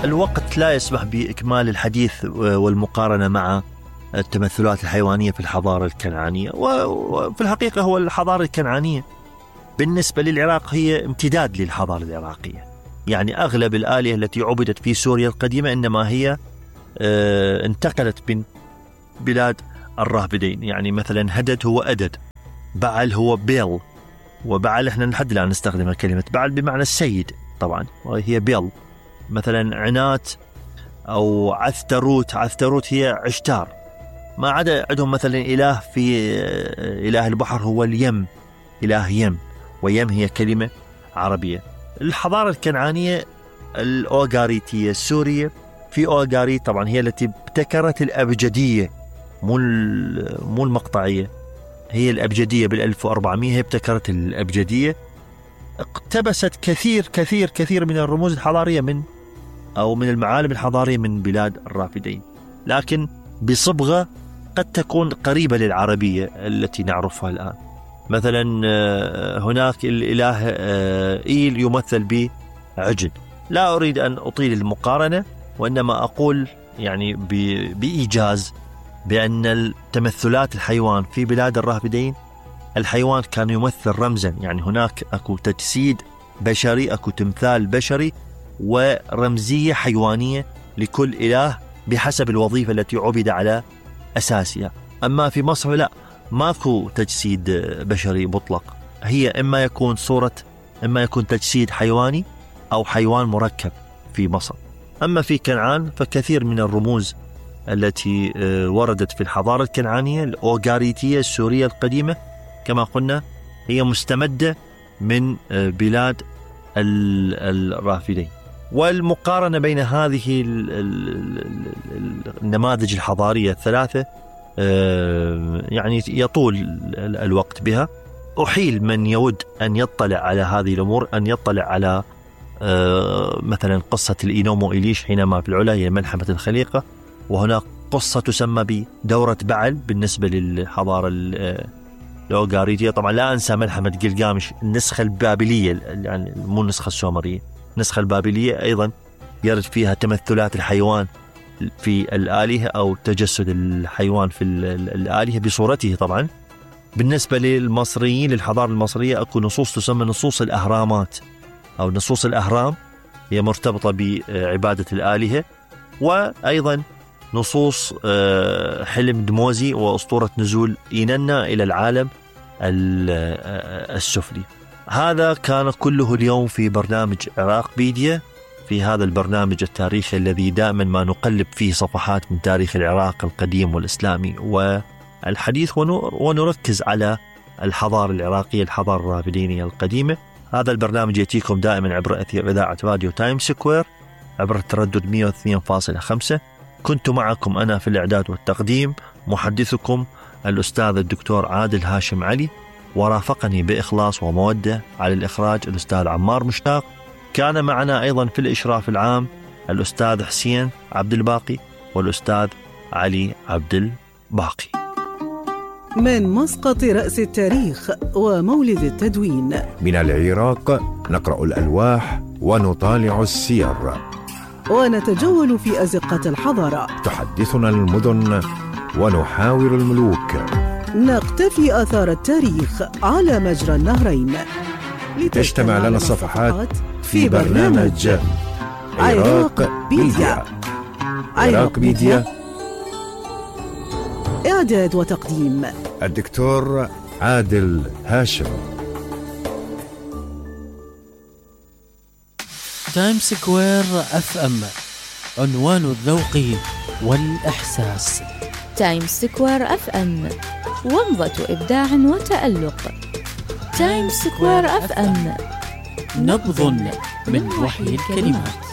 الوقت لا يسمح بإكمال الحديث والمقارنة مع التمثلات الحيوانية في الحضارة الكنعانية. وفي الحقيقة هو الحضارة الكنعانية بالنسبة للعراق هي امتداد للحضارة العراقية. يعني أغلب الآلهة التي عبدت في سوريا القديمة إنما هي انتقلت من بلاد الرافدين. يعني مثلا هدد هو أدد، بعل هو بيل، وبعل احنا لحد الآن نستخدم كلمة بعل بمعنى السيد طبعا، وهي بيل. مثلا عنات أو عثتروت هي عشتار. ما عدا عندهم مثلا إله في إله البحر هو اليم، إله يم، ويم هي كلمة عربية. الحضارة الكنعانية الأوغاريتية السورية، في أوغاريت طبعا هي التي ابتكرت الأبجدية، مو المقطعية، هي الأبجدية بال1400 هي ابتكرت الأبجدية. اقتبست كثير من الرموز الحضارية من المعالم الحضارية من بلاد الرافدين، لكن بصبغة قد تكون قريبة للعربية التي نعرفها الآن. مثلا هناك الإله إيل يمثل بعجل. لا أريد أن أطيل المقارنة، وإنما أقول يعني بإيجاز بأن التمثلات الحيوان في بلاد الرافدين، الحيوان كان يمثل رمزا. يعني هناك أكو تجسيد بشري، أكو تمثال بشري ورمزية حيوانية لكل إله بحسب الوظيفة التي عبد على أساسها. أما في مصر لا، ماكو تجسيد بشري مطلق، هي إما يكون تجسيد حيواني أو حيوان مركب في مصر. أما في كنعان فكثير من الرموز التي وردت في الحضارة الكنعانية الأوغاريتية السورية القديمة كما قلنا هي مستمدة من بلاد الرافدين. والمقارنة بين هذه النماذج الحضارية الثلاثة يعني يطول الوقت بها. أحيل من يود أن يطلع على هذه الأمور أن يطلع على مثلا قصة الإينومو إليش حينما في العلا هي ملحمة الخليقة، وهناك قصة تسمى بدورة بعل بالنسبة للحضارة الأوغاريتية. طبعا لا أنسى ملحمة جلجامش النسخة البابلية، يعني مو النسخة السومرية، النسخة البابلية أيضا يرد فيها تمثلات الحيوان في الآلهة أو تجسد الحيوان في الآلهة بصورته. طبعا بالنسبة للمصريين للحضارة المصرية أكو نصوص تسمى نصوص الأهرامات أو نصوص الأهرام، هي مرتبطة بعبادة الآلهة. وأيضا نصوص حلم دموزي وأسطورة نزول إيننا إلى العالم السفلي. هذا كان كله اليوم في برنامج عراق بيديا، في هذا البرنامج التاريخي الذي دائما ما نقلب فيه صفحات من تاريخ العراق القديم والإسلامي والحديث ونركز على الحضارة العراقية، الحضارة الرافدينية القديمة. هذا البرنامج يأتيكم دائما عبر أثير إذاعة راديو تايم سكوير عبر التردد 102.5. كنت معكم أنا في الإعداد والتقديم محدثكم الأستاذ الدكتور عادل هاشم علي، ورافقني بإخلاص ومودة على الإخراج الأستاذ عمار مشتاق. كان معنا أيضا في الإشراف العام الأستاذ حسين عبد الباقي والأستاذ علي عبد الباقي. من مسقط رأس التاريخ ومولد التدوين من العراق نقرأ الألواح ونطالع السير ونتجول في أزقة الحضارة. تحدثنا المدن ونحاور الملوك. نقتفي آثار التاريخ على مجرى النهرين. تجتمع لنا الصفحات في برنامج عراق بيديا. عراق بيديا، إعداد وتقديم الدكتور عادل هاشم. تايم سكوير اف ام، عنوان الذوق والإحساس. تايم سكوير اف ام، ومضة إبداع وتألق. تايم سكوير اف ام، نبض من وحي الكلمات.